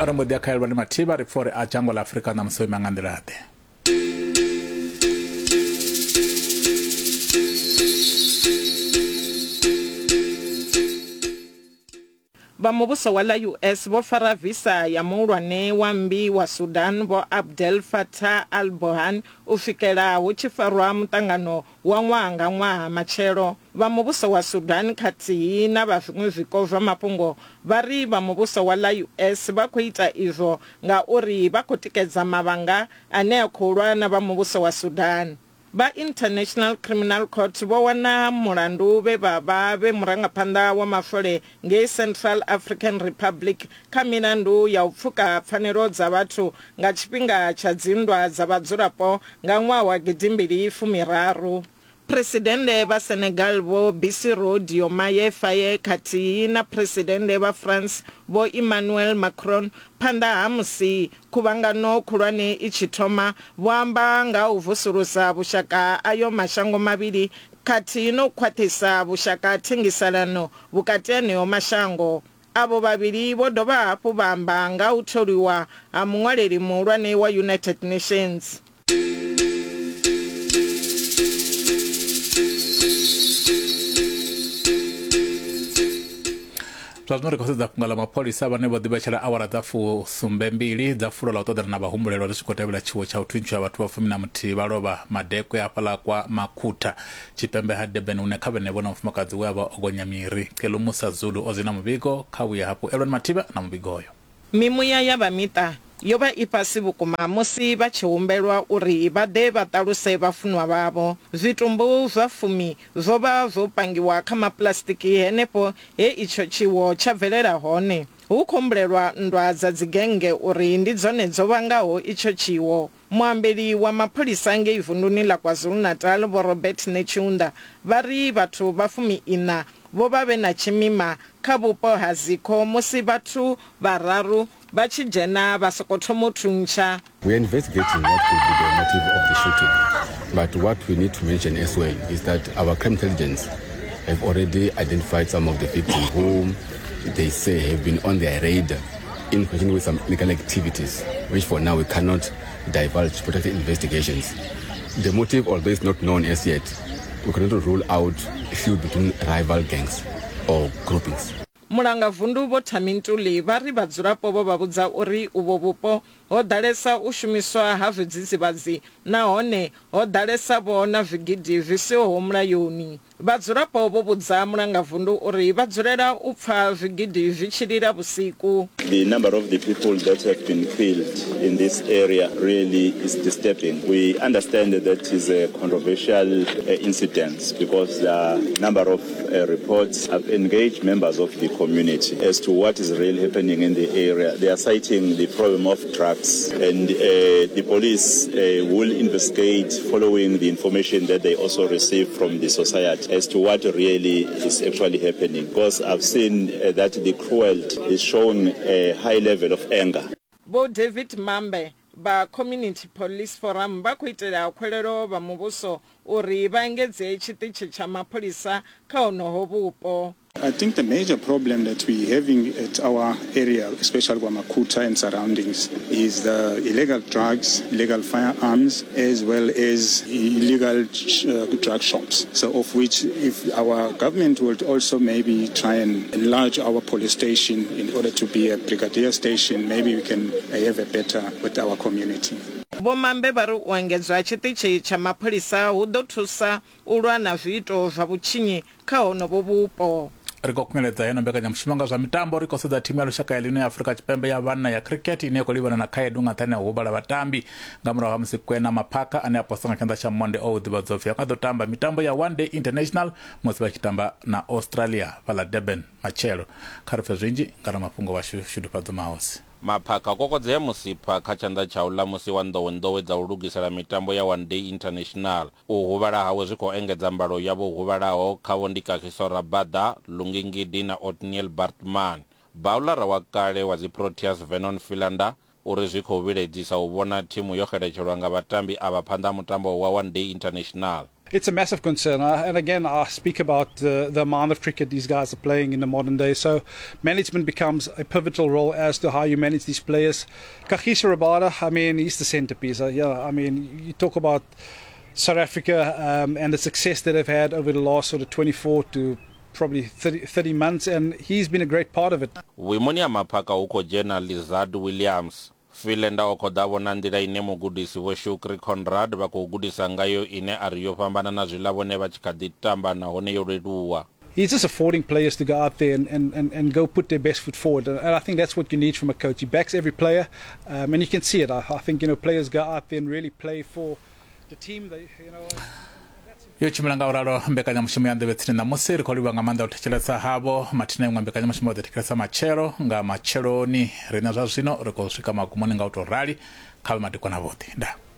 Ri mbo ḓi ya kha Elwani Mathivha ri pfa uri a dzhango ḽa Afrika ṋamusi o ima nga nḓila-ḓe. Vha muvhuso wa ḽa US vho fara visa ya muhulwane wa mmbi wa Sudan Vho Abdel Fattah al-Burhan u swikela hu tshi farwa muṱangano wa ṅwaha nga ṅwaha matshelo. Vha muvhuso wa Sudan khathihi na vha zwiṅwe zwiko zwa mafhungo vha ri vha muvhuso wa ḽa US vha khou ita izwo ngauri vha khou tikedza mavhanga ane a khou lwa na vha muvhuso wa Sudan. Vha International Criminal Court vho wana mulandu vhe vha vha vhe murangaphanḓa wa maswole ngei Central African Republic kha milandu ya u pfuka pfanelo dza vhathu nga tshifhinga tsha dzinndwa dza vhadzulapo nga ṅwaha wa gidimbili fumiraru. Phresidennde vha Senegal Vho Bassirou Diomaye Faye khathihi na Phresidennde vha France Vho Emmanuel Macron phanḓa ha musi Khuvhangano khulwane i tshi thoma, vho amba nga ha u vusulusa vhushaka ha ayo mashango mavhili khathihi na u khwaṱhisa vhushaka ha thengiselano vhukati aneo mashango. Avho vhavhili vho dovha hafhu vha amba nga ha u tholiwa ha muṅwaleli muhulwane wa United Nations. Zwa zwino ri khou sedza fhungo ḽa mapholisa vhane vho ḓivhetshela awara dza fusumbembili dza fulo ḽa u ṱoḓana na vhahumbulelwa ri tshi khou tevhela tshiwo tsha u thuntshiwa vhathu vha fumi na muthihi vha lovha madekwe hafhaḽa kwa Makhutha tshipembe ha Durban hune kha vhenevho na mufumakadzi we a vha o gonya miri. Kelumusa Zulu o zwi na muvhigo kha vhuye hafhu Elon Mathivha na muvhigo uyo. Mimuya ya vha miṱa yo vha i fhasi vhukuma musi vha tshi humbelwa uri vha ḓe vha ṱaluse vhafunwa vhavho. Zwitumbu zwa fumi zwo vha zwo pangiwa kha mapuḽasitiki henefho he itsho tshiwo tsha bvelela hone. Hu khou humbulelwa nndwa dza dzigennge uri ndi dzone dzo vhangaho itsho tshiwo. Muambeli wa mapholisa ngei vunduni ḽa KwaZulu-Natal Vho Robert Netshiunda vha ri vhathu vha fumi-iṋa vho vha vhe na tshimima kha vhupo ha Zikho musi vhathu vhararu vha tshi dzhena vha sokou thoma u thuntsha. We are investigating what could be the motive of the shooting, but what we need to mention as well is that our crime intelligence have already identified some of the victims whom they say have been on their radar in connection with some illegal activities, which for now we cannot divulge to protect the investigations. The motive, although is not known as yet, we cannot rule out a feud between rival gangs or groupings. Mulangavundu Vho Thami Ntuli vha ri vhadzulapo vho vha vhudza uri uvho vhupo ho ḓalesa u shumiswa ha zwidzidzivhadzi nahone ho ḓalesa-vho na zwigidi zwi sihoho mulayoni. Vhadzulapo vho vhudza mulangavundu uri vha dzulela u pfa zwigidi zwi tshi lila vhusiku. The number of the people that have been killed in this area really is disturbing. We understand that is a controversial incident because there are a number of reports have engaged members of the community as to what is really happening in the area. They are citing the problem of drugs and the police will investigate following the information that they also receive from the society as to what really is actually happening, because I've seen that the cruelty is showing a high level of anger. Vho David Mambe vha Community Police Forum vha khou itela khuwelelo vha muvhuso uri vha engedze tshiṱitshi tsha mapholisa kha honoho vhupo. I think the major problem that we're having at our area, especially KwaMakhutha and surroundings, is the illegal drugs, illegal firearms, as well as illegal drug shops. So of which if our government would also maybe try and enlarge our police station in order to be a brigadier station, maybe we can have a better with our community. Vho Mambe vha ri u engedzwa ha tshiṱitshi tsha mapholisa hu ḓo thusa u lwa na zwiito zwa vhutshinyi kha honovho vhupo. Ri khou khunyeledza heno mbekanyamushumo nga zwa mitambo. Ri khou sedza thimu ya lushaka ya ḽino ya Afrika Tshipembe ya vhanna ya cricket ine ya khou livhana na khaedu nga nṱhani ha u huvhala vhatambi nga murahu ha musi Kwena Maphaka ane a posa nga tshanḓa tsha monde o ḓivhadzwa upfi ha nga ḓo tamba mitambo ya One Day International musi vha tshi tamba na Australia fhaḽa Durban matshelo. Kha ri pfe zwinzhi nga ramafhungo washu Shudufhadzo Mahosi. Maphaka o kokodzea musipha kha tshanḓa tsha u ḽa musi wa nḓowenḓowe dza u lugisela mitambo ya One Day International. U huvhala hawe zwi khou engedza mbalo ya vho huvhalaho, khavho ndi Kagiso Rabada, Lungi Ngidi na Ottniel Baartman. Bauḽara wa kale wa dzi Proteas Vernon Philander uri zwi khou vhilaedzisa u vhona thimu yo xeletshelwa nga vhatambi avha phanḓa ha mutambo wa One Day International. It's a massive concern. And again, I speak about the amount of cricket these guys are playing in the modern day. So management becomes a pivotal role as to how you manage these players. Kagiso Rabada, I mean, he's the centerpiece. Yeah, I mean, you talk about South Africa and the success that they've had over the last sort of 24 to probably 30 months, and he's been a great part of it. Vhuimoni ha Maphaka hu khou dzhena Lizaad Williams. Philander o khoḓa vho na nḓila ine mugudisi Vho Shukri Conrad vha khou gudisa ngayo ine a ri yo fhambana na zwiḽa vhone vha tshi kha ḓi tamba nahone yo leluwa. He's just affording players to go out there and go put their best foot forward. And I think that's what you need from a coach. He backs every player, and you can see it. I think, players go out there and really play for the team. They, you know, Yo tshimbila nga u ralo mbekanyamushumo ya nḓevhe tsini ṋamusi. Ri khou livha nga maanḓa u thetshelesa havho mathina iṅwe mbekanyamushumo ḓo thetshelesa matshelo nga matsheloni. Riṋe zwa zwino ri khou swika magumoni nga u tou rali. Kha vhe madekwana vhoṱhe, ndaa.